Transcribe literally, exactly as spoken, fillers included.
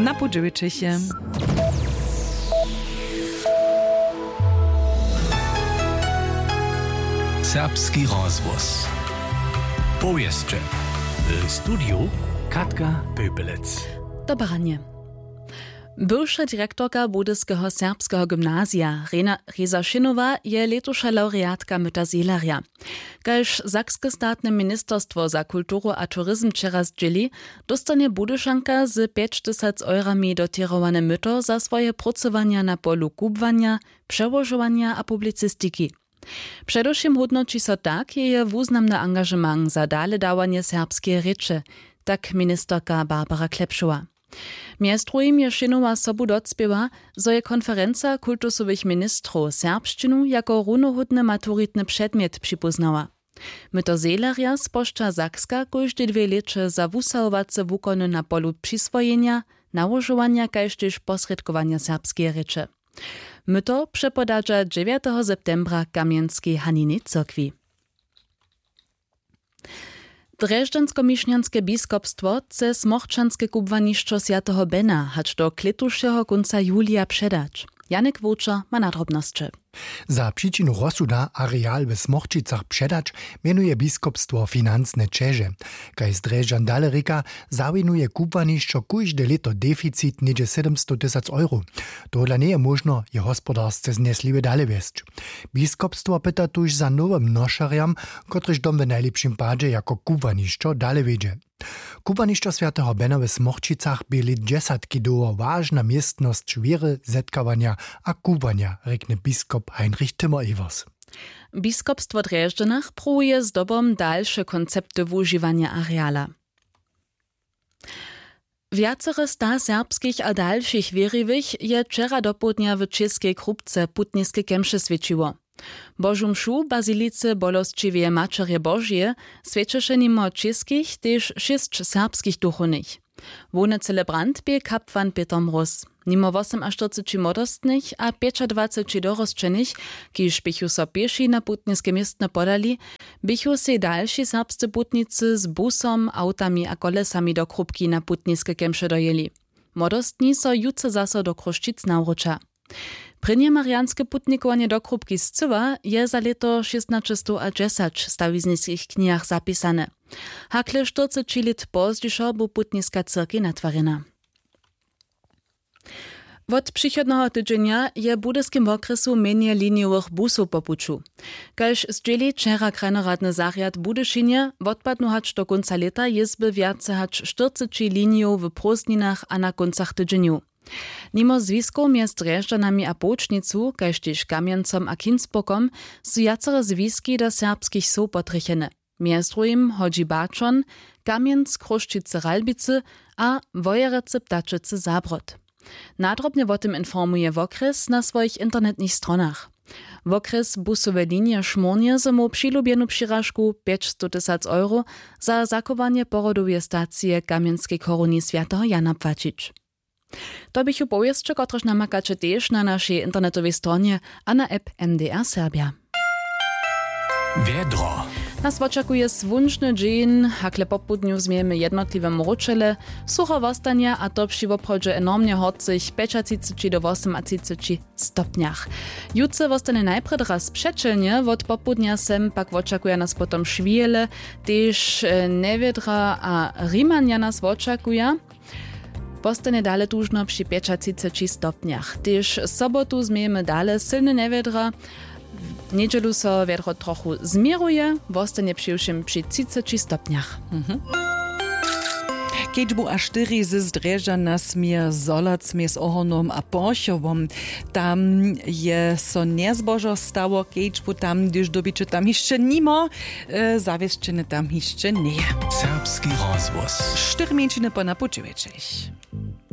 Na pół dźewjećich je. Serbski rozhłos. Powěsće. W studiju Katka Pepelec. Dobre ranje. Bywša direktorka Budyskeho serbskeho gymnazija Rena Reza Šinowa je lětuša lawreatka Myta Zehlerja. Kaž sakske statne ministerstwo za kulturu a turizm wčera zdźěli, dóstanje Budyšanka z pjeć tysac eurami dotěrowane myto za swoje prócowanja na polu kubłanja, přełožowanja a publicistiki. Předewšěm hódnoći so tak jeje wuznamny angažement za daledawanje serbskeje rěče, tak ministerka Barbara Klepšowa. Mjez druhim je Šinowa sobu docpěła, zo je konferenca kultusowych ministrow serbšćinu jako runohódny maturitny předmjet připóznała. Myto Zehlerja spožča Sakska kóžde dwě lěće za wusahowace wukony na polu přiswojenja, nałožowanja kaž tež posrědkowanja serbskeje rěče. Myto přepodadźa dźewjateho septembra w Kamjenskej Haninjej cyrkwi. Drježdźanskomišnjanske biskopstwo chce smochčanske kubłanišćo swjateho Bena hač do klětušeho kónca julija předać. Janek Wowčer ma na drobnosće. Za přičinu rozsuda areal w Smochčicach předać mjenuje biskopstwo financne ćeže. Kaž z Drježdźan dale rěka, zawinuje kubłanišćo kóžde lěto deficit něhdźe sydomstow tysac euro. Tohodla njeje móžno je hospodarsce znjesliwje dale wjesć. Biskopstwo pyta tuž za nowym nošerjam, kotryž dom w najlěpšim padźe jako kubłanišćo dale wjedźe. Kubłanišćo swjateho Bena w Smochčicach bě lět dźesatki dołho wažna městnosć wěry, zetkawanja a kubłanja, rjekny biskop Heinrich Timmer-Evers. Biskopstwo w Drježdźanach pruwuje zdobom dalše koncepty wužiwanja areala. Wjacore sta serbskich a dalšich wěriwych je wčera dopołdnja w Čěskej Krupce putniske kemše swjećiło. Božu mšu w bazilice Bolosćiweje Maćerje Božeje swjećeše nimo čěskich tež šěsć serbskich duchownych. Hłowny celebrant bě kapłan Pětr Mróz. Nimo wosomaštyrceći młodostnych a pjećadwaceći dorosćenych, kiž běchu so pěši na putniske městno podali, běchu sej dalši serbscy putnicy z busom, awtami a kolesami do Krupki na putniske kemše dojěli. Młodostni so jutře zaso do Chrósćic nawróća. Prěnje marianske putnikowanje do Krupki scyła je za lěto šěstnaćestow a dźesać w stawizniskich knihach zapisane. Hakle štyrceći lět pozdźišo bu putniska cyrkej natwarjena. Wot přichodneho tydźenja je w budyskim wokrjesu mjenje linijowych busow po puću. Kaž zdźěli wčera krajnoradny zarjad w Budyšinje, wotpadnu hač do kónca lěta jězby wjace hač štyrceći linijow w prózdninach a na kóncach tydźenjow. Nimo zwiskow mjez Drježdźanami a Połčnicu kaž tež Kamjencom a Kinsburgom su wjacore zwiski do serbskich wsow potrjechene. Mjez druhim hodźi Baćon, Kamjenc, Chrósćicy, Ralbicy a Wojerecy, Ptačecy, Zabród. Nadrobnje wo tym informuje wokrjes na swojich internetnych stronach. Wokrjes busowe linije Šmórnje zo móhł přilubjenu přiražku pjećstow tysac euro za zachowanje porodoweje stacije w Kamjenskej choruni swjateho Jana płaćić. To běchu powěsće, kotrež namakaće tež na našej internetowej stronje a na app M D R Serbja. Wjedro. Nas wočakuje słónčny dźeń, hakle popołdnju změjemy jednotliwe mróčele. Sucho wostanje, a to při woprawdźe enormnje horcych pjećatřiceći do wosomatřiceći stopnjach. Jutře wostanje najprjedy raz přećelnje, wot popołdnja sem pak wočakuja nas potom šwihele. Tež e, njewjedra a rimanja nas wočakuja. Wostanje dale tužno při pjećatřiceći stopnjach. Tež sobotu změjemy dale sylne njewjedra. W njedźelu so wjedro trochu změruje, wostanje přiwšěm při třiceći stopnjach. Mhm. Kedźbu a štyri z Drježdźan nas měje zolac mjez Ohornom a Porchowom. Tam je so njezbožo stało, kedźbu tam, hdyž dyrbiće tam hišće nimo, e, zawěsćene tam hišće njeje. Serbski rozhłos. Štyri mjeńšiny po napućewjećich.